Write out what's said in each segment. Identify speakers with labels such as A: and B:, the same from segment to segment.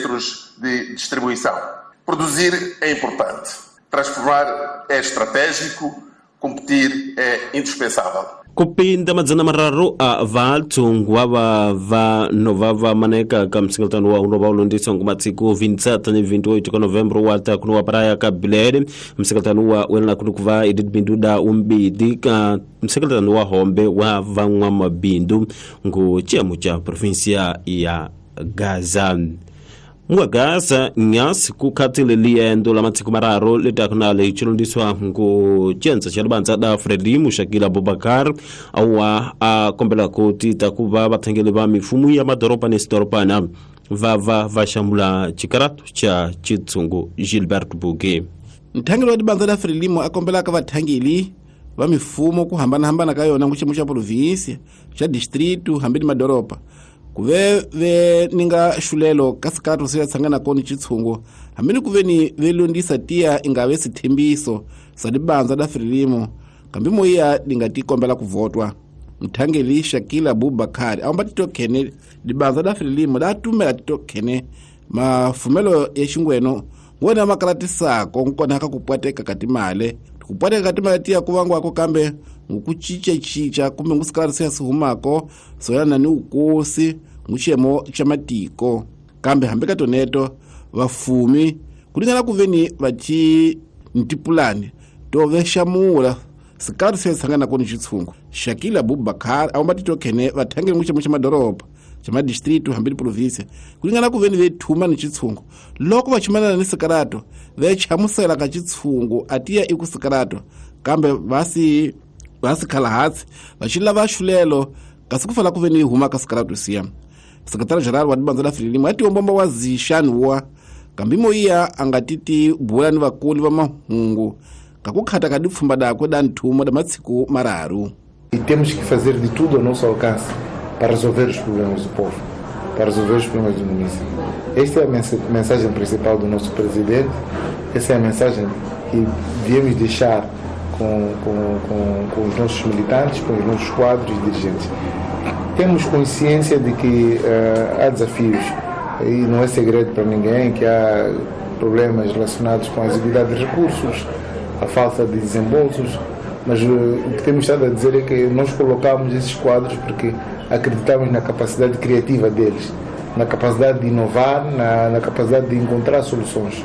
A: centros de distribuição. Produzir é importante, transformar é estratégico, competir é indispensável.
B: Kupinda 300 a vathu va va nova va maneka ka msingeltano wa unova ulondisa ngumatsiku 27 ni 28 ka Novembro wa ta kuno wa praia ka Bilele msingeltano wa wena kunukuva edit binduda umbidi ka msingeltano wa hombe wa vanwa mabindu ngu chemu cha provincia ya Gaza. Mwagasa nyasi kukhatile liendo la matsiku mararo letakunale chilondiswa ngu chenza cha lubanza da Frelimo Shakila Abubakar awa a kombela kuti takuva vathengeli va mifumo ya madoropa ni sitoropana vava vaxamula chikaratu cha chitsungu Gilbert Bouquet.
C: Nthangeli wa dibanza da Frelimo a kombelaka vathangeli va mifumo ku hambanahambana ka yona ngu xiyimo xa provinsia xa distritu hambi ni madoropa kuve ve ninga xulelo ka sikatu se tshangana koni chitshungu hambi ni kuve ni velondisa tiya ingave sithembiso sa dibanza da Frelimo kambi moya dinga tikombela kuvotwa. Mthangeli Shakila Abubakar amba titokhene dibanza da Frelimo da tumela titokhene mafumelo ya xingweno ngwena makalatisako nkona ka kupwateka katimale kupwateka katimale tiya kuvangwako kambe ngukuchicha-chicha kumbe ngusikalati se sihumako soyana ni ukosi nguxiyemo xa matiko kambe hambi ka toneto vafumi kulingana kuveni vathi ntipulani to vexamula sikalati se tshanganako ni xitshungu. Shakila Abubakar awamba titokhene vathangeli nguxiyemo xa madoroba xa madistritu hambi ni provinsia kulingana kuveni vethuma ni xitshungu loko va chumanana ni sikalato vechamusela ka xitshungu atiya iku sikalato kambe vasi khala hansi va xi lava xulelo kasi ku fala ku ve ni huma ka sikalato siya. Sekretary general wa dibanza la Frelimo a tiombomba wa zixani wa kambi moya a nga titi bula ni vakulu va mahungu ka ku khata ka dipfhumba dakwe da nthumo da matsiku mararu.
D: E temos que fazer de tudo ao nosso alcance para resolver os problemas do povo, para resolver os problemas do município. Esta é a mensagem principal do nosso presidente, essa é a mensagem que devemos deixar com os nossos militantes, com os nossos quadros e dirigentes. Temos consciência de que há desafios e não é segredo para ninguém que há problemas relacionados com a exiguidade de recursos, a falta de desembolsos, mas o que temos estado a dizer é que nós colocamos esses quadros porque acreditamos na capacidade criativa deles, na capacidade de inovar, na capacidade de encontrar soluções.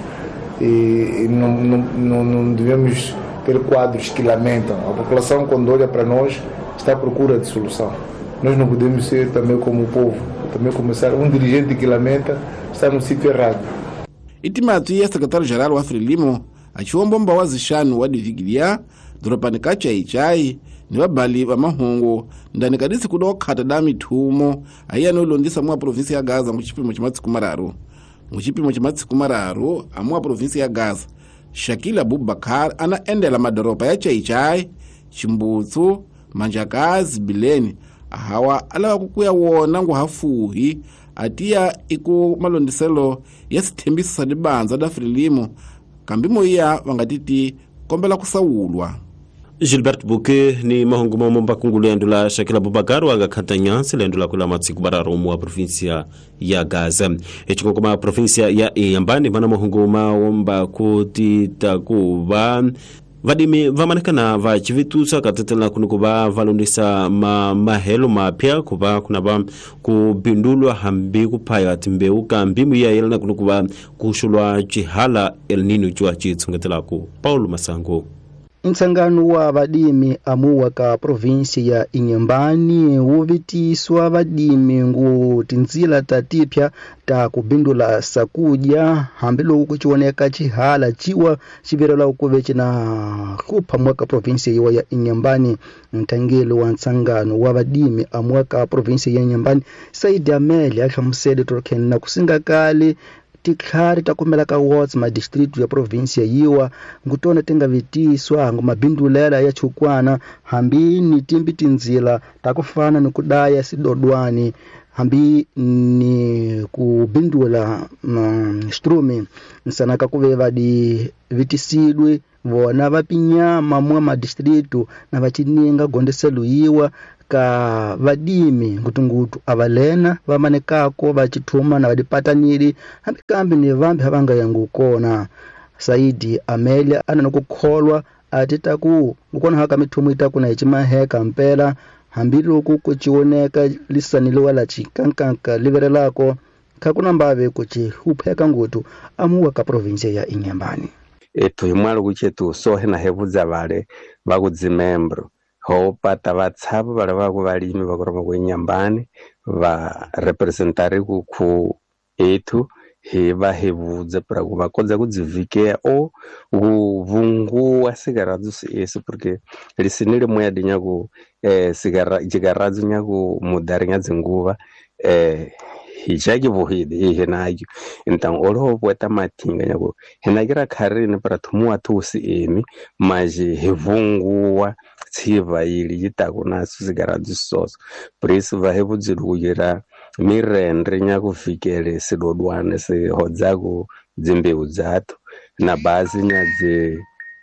D: E não devemos ter quadros que lamentam. A população, quando olha para nós, está à procura de solução. Nós não podemos ser também como o povo, também começar. Um dirigente que lamenta está no sítio errado.
C: Itimatwi ya secretário-geral wa Frelimo achiwombomba wa zixanu wa divigilia doropani ka Chaichai ni vabali va mahungu ndani ka disiku dokhata da mithumo ayiya no londisa mwa provinsia ya Gaza muxipimo xa matsiku mararu. Muxipimo xa matsiku mararu amwa provinsia ya Gaza Shakila Abubakar ana endela madoropa ya Chaichai, Chimbutsu, Manjakazi, Bileni ahawa alava ku kuya wona nguhafuhi atiya iku malondiselo ya sithembiso sa dibanza da Frelimo kambi moya va nga titi kombela ku sawulwa.
B: Gilbert Bouquet ni mahungu mamomba kungulu yandula Shakila Abubakar wanga khatanya lendula kula matsiku bararo mu provincia ya Gaza. Echikokoma provincia ya Inhambane mana mahungu maomba kuti takuva vadimi vamanekana va chivitusa katetela kunukuva valondisa mahelo mapya kuva kunava kubindulwa hambi kuphaya timbeu kambi muya yelana kunukuva kuxulwa chihala El Nino jwa chitsungetelaku Paulo Masango.
E: Ntsangano wa vadimi amuwa ka provinsi ya Inhambane wu vitiswa vadimi ngu tindzila ta tipya ta kubindula sakudya hambiloko ku chioneka chihala chiwa xivirela kuve cina hlupha mwaka provinsi yiwa ya Inhambane. Nthangeli wa ntsangano wa vadimi amuwa ka provinsi ya Inhambane Said Amele a hlamusele Tolkien na kusinga kale titlhari ta kumela ka wards madistrict ya province yiwa ngutona tinga vitiswa ngumabindulela ya chukwana hambi ni timbi tindzila ta kufana ni kudaya sidodwani hambi ni kubindula strumi nsanaka kuve vadi vitisidwe vona vapinyama mwa madistritu na vachininga gondeselo yiwa Ka vadimi ngutungutu avalena vamanekako vachithuma na vadipatanili hambi kambi ni vambi havanga yangu kona. Saidi Amelia ana nokukholwa ati taku ngukona haka mithumu itaku na ichimaheka mpela hambiloko kuchioneka lisaniliwa la chikankanka liverelako khakuna mbave kuchihupheka ngutu amuwa ka provinsia ya Inhambane.
F: Ethu himwalo kuchetu sohe na hevudza vale vakudzimembro ho pata vatshavu vale vaku valimi vakuroma ku Inhambane va representari ku khu ethu hi va hevudza para ku va kondza ku dzivhikea o ku vunguwa sigaradzu esi porque lisini limwe ya dinyaku jigaradzu nyaku mudari nya dzinguva hi vuhidi ihe nakyo então oloho pueta mathinga nyaku hinakira kharini para thumuwa thusi emi maji hi vunguwa tshiva ili yitaku naso sigaradzu soso por isso va hevudzilukira mirendre nyakuvikele sidodwane sihodzaku dzimbewu dzathu na basi nya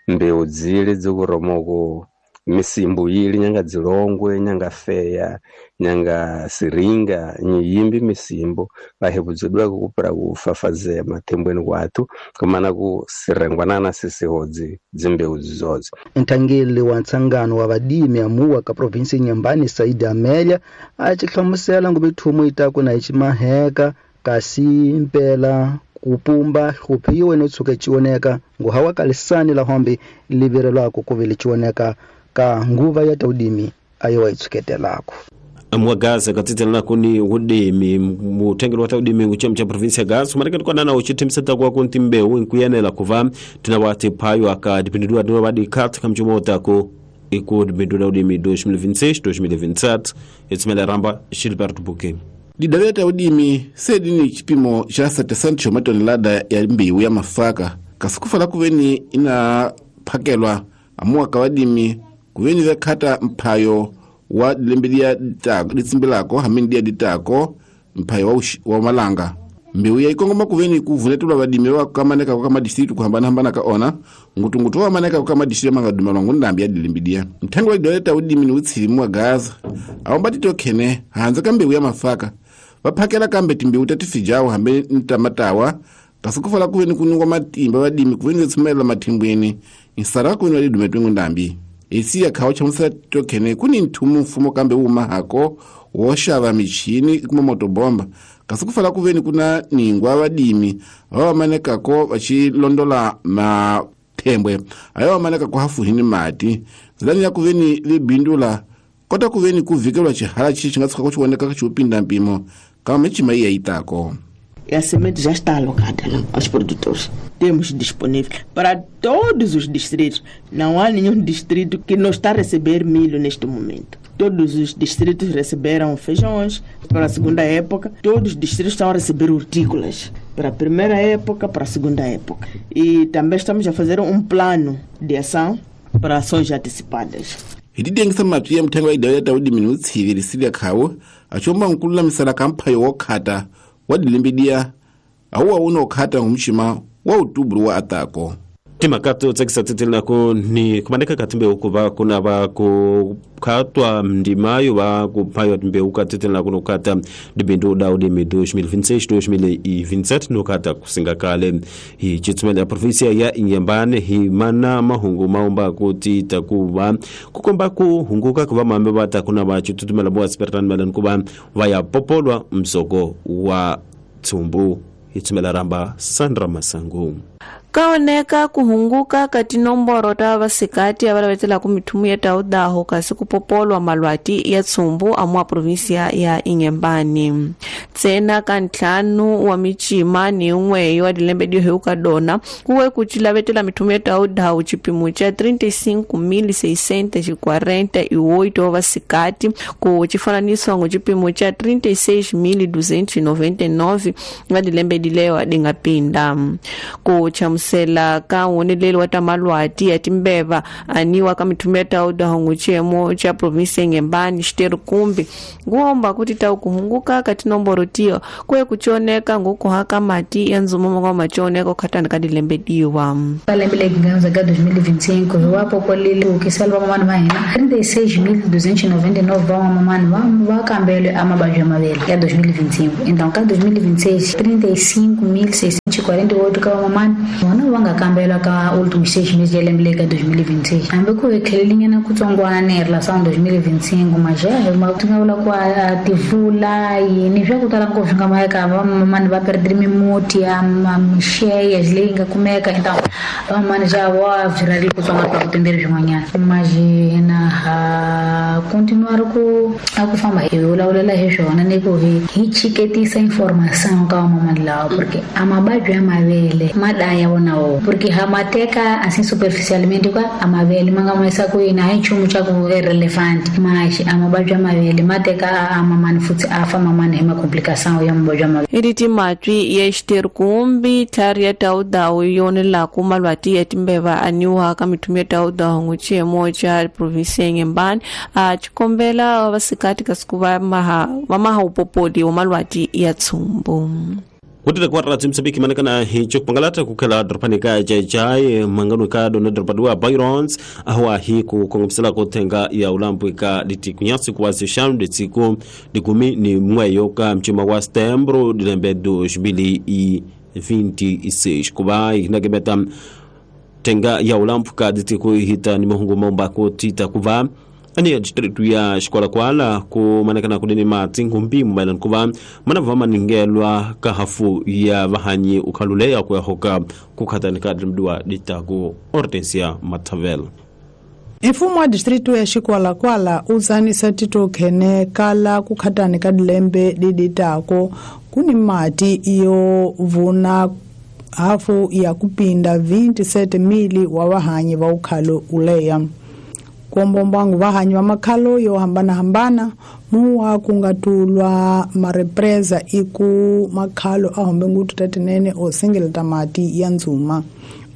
F: dzimbewu dzili dzikuromoko misimbu yili nyanga dzilongwe nyanga feya nyanga siringa nyiyimbi misimbu vahevudzidweko kupera kufafazea mathembweni kwathu kumana ku sirengwanana sisihodzi dzimbewu dzizodzo.
E: Nthangeli wa ntsangano wa vadimi amuwa ka provinsi Inhambane Saidi Amelia achihlamusela ngumithumu itaku na ichimaheka kasi mpela kupumba hluphiwe no tshuka chioneka nguhawa kalisani la hombe liverelwako kuvele chioneka ka nguva ya taudimi ayo waitsuketelako.
B: Amwa Gaza katitelana ni udimi mutengelo wa udimi uchemu cha provinsia Gaza marekani kwa nana uchitimseta kwa kunti mbeu nkuyenela kuva tinawati payo akadipindidwa dino badi kat kamchumota ko ikudipindidwa udimi 2026 2027 etsimela ramba Gilbert Bouquet.
C: Didaveta udimi sedini chipimo cha 700 matonelada ya mbewu ya mafaka kasikufala kuveni inaphakelwa amuwa kawadimi kuveni vekhata mphayo wa dilembe ditsimbilako hamene dia ditako mphayo wa malanga mbewu ya ikongoma kuveni kuvunetelwa vadimi vakamaneka kwa madistritu kuhambanahambana ka ona ngutungutu wamaneka kwa madistritu mangadumalwa ngundambi ya dilembe mthangi wa didaveta udimi ni utshilimu wa Gaza awomba titokhene hanze ka mbewu ya mafaka vaphakela kambe timbewu tatifijawo hambe ntamatawa kasikufala kuveni kuningwa matimba vadimi kuveni vetsumalela mathimbweni insara kuveni vadidumetwengu ndambi esiya khawo chamusela tokhene kuni nthumu mfumo kambe wumahako woxava michini kuma motobomba kasi kufala kuveni kuna ningwa vadimi vavamanekako vachilondola mathembwe ayo vamanekako hafuhini mati zilani ya kuveni vibindula kota kuveni kuvikelwa chihala chi chinga tshuka kuchioneka chiupinda mpimo kama michima iya itako.
G: A semente já está alocada aos produtores. Temos disponível para todos os distritos. Não há nenhum distrito que não está a receber milho neste momento. Todos os distritos receberam feijões para a segunda época. Todos os distritos estão a receber hortícolas para a primeira época, para a segunda época. E também estamos a fazer um plano de ação para ações antecipadas.
C: Hitidengisa mapyi ya mthengo wa idao ya udimi ni utshivirisile khawo achomba nkululamisela kamphayo wokhata wa dilembedia awuwa unokhata ngumshima wa utubulu wa atako.
B: Timakato tsakisa titelinako ni kumaneka katimbeu kuva kuna va kukhatwa ndimayo va kuphaywa timbeu katitelinako nokhata dibindu da udimi 2026 2027 nokhata kusinga kale hi chitsumela ya provinsia ya Inhambane hi mana mahungu maomba kuti takuva kukomba kuhunguka kuva mambe va takuna va chitutumela bwa sipertani melani kuva va ya popolwa msoko wa tsumbu. Itsumela ramba Sandra Masangu.
H: Kaoneka kuhunguka kati nomboro ta vasikati avalavetelaku mithumu ya taudaho kasi kupopolwa malwati ya tsumbu amua provinsia ya Inhambane. Tsena ka ntlhanu wa michima ni un'we wa dilembe diheuka dona kuwe kuchilavetela mithumu ya taudaho chipimo cha 35.648 wa vasikati ku chifananiswa ngo chipimo cha 36.299 wa dilembe dileyo adingapinda. Ku chamusela ka woneleli wa ta malwati ya timbeva aniwa ka mithumu ya taudaho nguchemo cha provinsi Inhambane xiteru kumbi nguomba kuti tau kuhunguka ka tinomboro tiyo kwe kuchioneka ngukuhaka mati ya nzumo mwa machioneka khatani ka dilembe diwa.
I: Lembe leri nga ka 2025 wa popolile ku salva mamani va hina 36.299 va mamani va kambelwe a mavabyi ya mavele ya 2025. Então ka 2026 35.648 ka vamamani vona va nga kambelwa ka últimos 6 meses ya lembe leri ka 2026. Hambi ku tlhelelinyana kutsongwana hi relação 2025 mas já ti nga vula ku a tivula yini swa ku tala ngopfu swi nga maheka vamamani va perdile mimuti ya mixeya leyi nga kumeka. Então vamamani já va byi kutsonga pa kutenderi swin'wanyana mas hina ha continuar ku a ku famba hi vulavulela hi swona ni ku hi chiketisa informação ka vamamani lawa porque a mavabyi ya mavele ma daya wona wo porque ha ma teka assim superficialmente ka a mavele ma nga ma yisa ku yini a hi nchumu xa ku relevant mas a mavabyi ya mavele ma teka a mamani futhi a fa mamani hi macomplicação ya mavabyi ya mavele.
H: Iriti matwi ya xiteru kumbi tlhari ya taudawu yonelaku malwati ya timbeva aniwa ka mithumu ya taudawu nguchemo cha provinsi ya Inhambane a chikombela vasikati kasi ku va maha upopoli wa malwati ya tsumbu.
B: Kutile kwa rati Msambiki manekana hicho kupangalata kukela dropani ka jai mangano ka dona dropadua Byrons ahwa hi ku kongomsela kutenga ya ulambu ka litikunyasi kuwazi shanu litiku dikumi ni mweyo ka mchima wa stembro dilembe 2026 kuba inakebeta tenga ya ulambu ka litiku hita ni mahungu maumba kutita kuva ani ya distritu ya Xikwalakwala ku manekana kunene mati ngumbimu maelana kuva mana va maningelwa ka hafu ya vahanyi ukhaluleya ku ya hoka ku khatani ka dimdiwa ditaku Hortensia Mathavel.
J: Mfumo wa distritu ya Xikwalakwala u tsanisa titokhene kala ku khatani ka dilembe diditako kuni mati yo vuna hafu ya kupinda 27,000 wa vahanyi va ukhalo uleya. Kuombombangu vahanyi va makhalo yo hambana-hambana muwa kungatulwa marepresa iku makhalo a hombe ngutu tatinene o sengeleta mati ya ndzuma.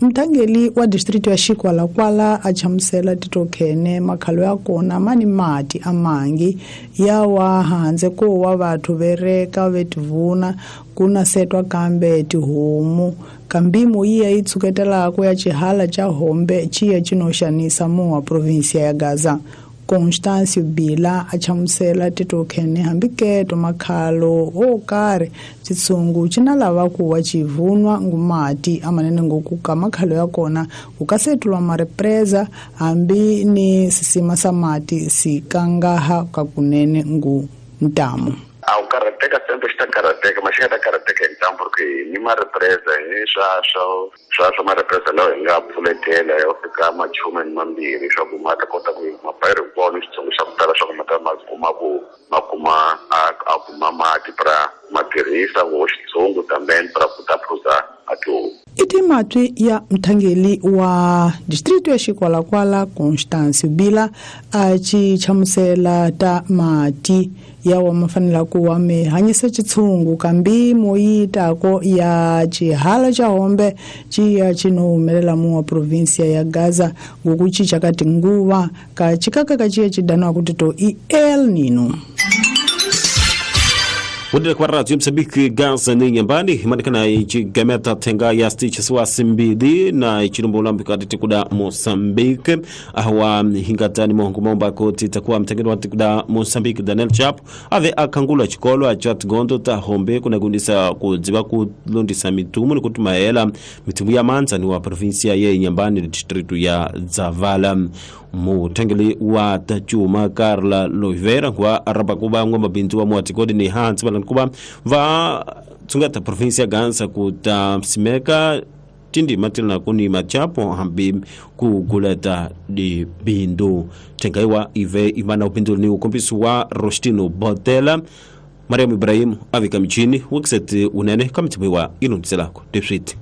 J: Mthangeli wa distritu ya Xikwalakwala a chamusela titokhene makhalo ya kona mani mati amangi ya wa handze ko wa vathu vereka vetivuna kuna setwa kambe tihomu kambimo iya yi tshuketelaka ya xihala xa hombe xiya xinoxanisa muwa provinsia ya Gaza. Constâncio Bila a chamusela titokhene hambiketo makhalo o karhi xitshungu xi na lava ku wa xivunwa ngumati amanene ngoku ka makhalo ya kona ku ka setulwa marepresa hambi ni sisima sa mati sikangaha ka kunene ngu ntamu.
A: A o karateka sempre está karateka, mas chega da karateka então porque ni uma represa ni swa ma represa lawa hi nga pfuletela ya fika machume ni mambirhi swa ku ma ta kota ku mapayiri hinkwawo ni xitsongo xa ku tala swa ku ma ta ma kuma ku ma kuma a kuma mati pra ma tirhisa ku xitsongo também pra ku ta phuza a tihomu.
J: I timatwi ya mthangeli wa distritu ya Xikwalakwala Constâncio Bila a ci chamusela ta mati yawa mafanela ku wa mi hanyisa xitshungu kambi moyitako ya xihala xa hombe xiya xi no humelela mu wa provinsia ya Gaza ngoku cinca ka tinguva ka xikaka ka xiya xi daniwa ku tito i El Nino.
B: Kutile kwa rati Msambiki Gaza ni Inhambane manekana ichigameta tenga ya stitch wa simbili na ichilumbo ulambi kati tikuda Mozambique ahwa hingatani mohungu maumba koti takuwa mtengeni wa tikuda Mozambique Daniel Chap ave akangula chikolo achat gondo ta hombe kuna gundisa kudziba kulondisa mitumu ni kutumaela mitumu ya manza ni wa provinsia ya Inhambane distritu ya Zavala. Mutengeli wa tachuma Carla Loivera kwa araba kuba ngomba bintu wa mwatikodi ni Hans balan kuba va tsungata provinsia Gansa kuta simeka tindi matilna kuni machapo hambi kuguleta di bindu tengaiwa ive imana upindu ni ukompisi wa Rostino Botela Mariam Ibrahim avika mchini wikset unene kamitibiwa ilundiselako dipsit.